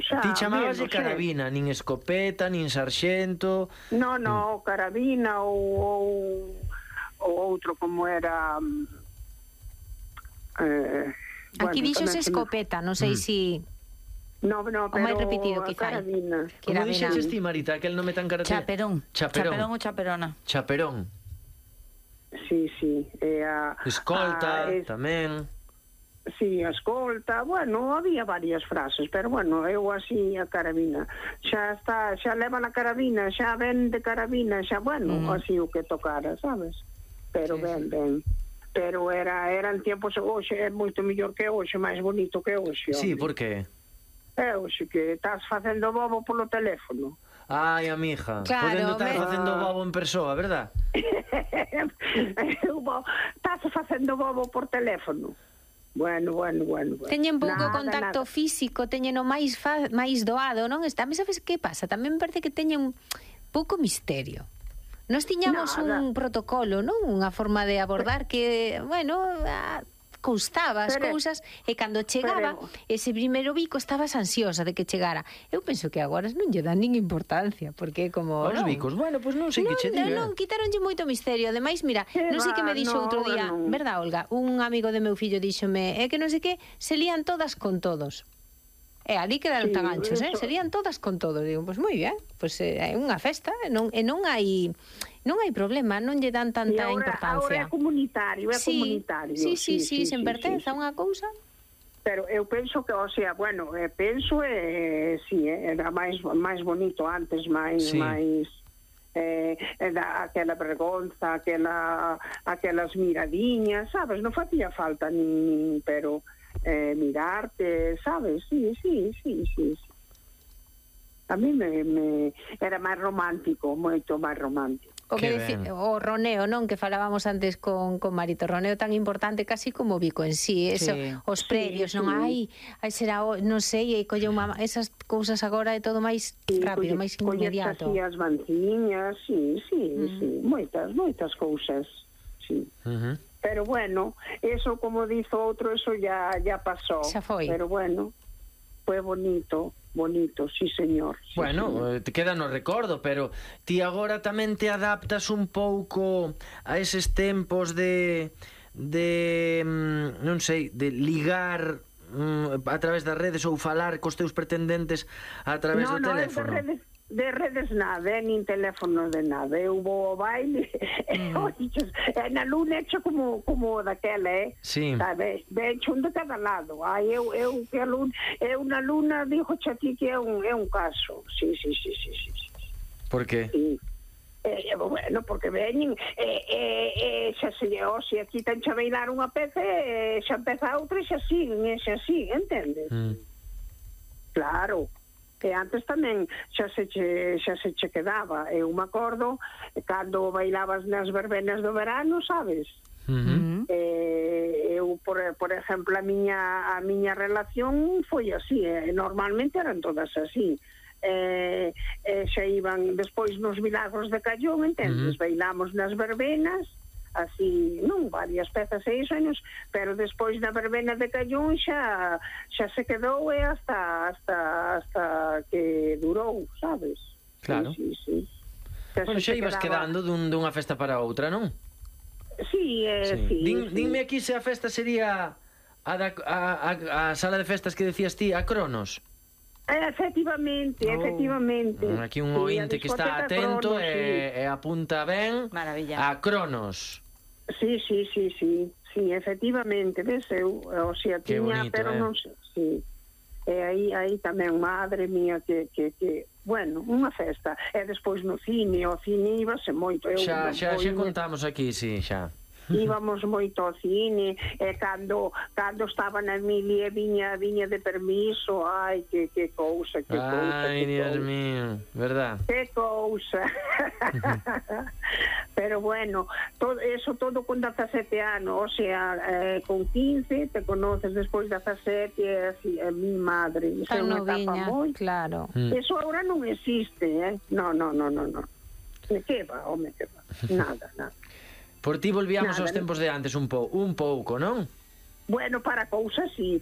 xa. Ti chamabas de menos, carabina, nin escopeta, nin sarxento... No, carabina ou outro como era... Aquí díxose escopeta, non sei se... No, pero o máis repetido, quizá. carabina. Como dixeches ti, Marita, aquel nome tan característico? Chaperón. Chaperón ou chaperona. Chaperón. Sí. Escolta, tamén. Sí, escolta, bueno, había varias frases, pero bueno, eu así a carabina. Xa leva na carabina, xa ven de carabina, xa, bueno, así o que tocara, sabes? Pero ben. Pero eran tiempos, hoxe é moito mellor que hoxe, máis bonito que hoxe. Sí, por qué? Hoxe que estás facendo bobo polo teléfono. Ai, amiga, claro, podendo estar facendo bobo en persoa, verdad? Estás facendo bobo por teléfono. Bueno. Teñen pouco contacto físico, teñen o máis doado, non? Tamén sabes que pasa? Tamén me parece que teñen pouco misterio. Nós tiñamos un protocolo, non? Unha forma de abordar que, bueno, custaba as cousas, e cando chegaba ese primeiro bico estabas ansiosa de que chegara. Eu penso que agora non lle dan nin importancia, porque como... Os bicos, bueno, pois non sei que che diga. Non, quitaronlle moito misterio. Ademais, mira, non sei que me dixo outro día, verdad, Olga? Un amigo de meu fillo díxome, que non sei que, se lían todas con todos. E ali quedaron tan anchos, se lían todas con todos. Digo, pois moi ben, pois é unha festa, e non hai problema, non lle dan tanta importancia. Agora é comunitario, comunitario. Sí, sen pertenza a unha cousa. Pero eu penso que, o sea, bueno, penso era máis bonito antes, máis aquela vergonza, aquelas miradiñas, sabes, non facía falta nin pero mirarte, sabes, sí. A mí me era máis romántico, moito máis romántico. O roneo, non? Que falábamos antes con Marito, roneo tan importante casi como o bico en sí, eso, os previos, non? Ai, será, non sei, colle esas cousas agora é todo máis rápido, máis inmediato. Colles as manciñas, sí, moitas cousas, sí. Pero bueno, eso, como dizo outro, eso ya pasó. Xa foi. Pero bueno, foi bonito, sí, señor. Sí, bueno, señor. Te queda no recordo, pero ti agora tamén te adaptas un pouco a eses tempos de non sei, de ligar a través das redes ou falar cos teus pretendentes a través do teléfono. De redes nada, nin teléfono de nada. Eu vou ao baile na luna hecho como daquela, sí. Sabes? Hecho un de cada lado. Eu na luna digo a ti que é un caso. Sí. Por qué? Sí. Bueno, porque veñen xa se aquí ten xa bailar unha peza, xa empeza outra e xa siguen, entendes? Claro. Que antes tamén xa se che quedaba. Eu me acordo cando bailabas nas verbenas do verano, sabes? Eu, por exemplo, a miña relación foi así, normalmente eran todas así. Xa iban despois nos milagros de Callón, entendes? Bailamos nas verbenas, así, non varias pezas e iso, pero despois da verbena de Callón xa se quedou hasta que durou, sabes? Claro. Sí. Bueno, xa ibas quedando dunha festa para outra, non? Sí. Dime aquí se a festa sería a sala de festas que decías ti, a Cronos. Efectivamente. Aquí un ointe que está atento e apunta ben. Maravilla. A Cronos. Sí, efectivamente, ves, o sea, tiña, pero non sei, sí. E aí tamén, madre mía, que bueno, unha festa. E despois no cine, o cine íbase moito. Xa contamos aquí, sí, xa. Íbamos moito ao cine, e cando estaba na Emilia viña de permiso, ai, que cousa, ai, Dios mío, verdad? Que cousa. Pero bueno, todo con 17 anos, o sea, con 15 te conoces, despois 17 e así, mi madre, tan noviña, claro. Eso agora non existe, No. Que va, nada. Por ti volvíamos aos tempos de antes un pouco, non? Bueno, para cousas sí.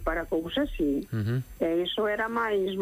E iso era máis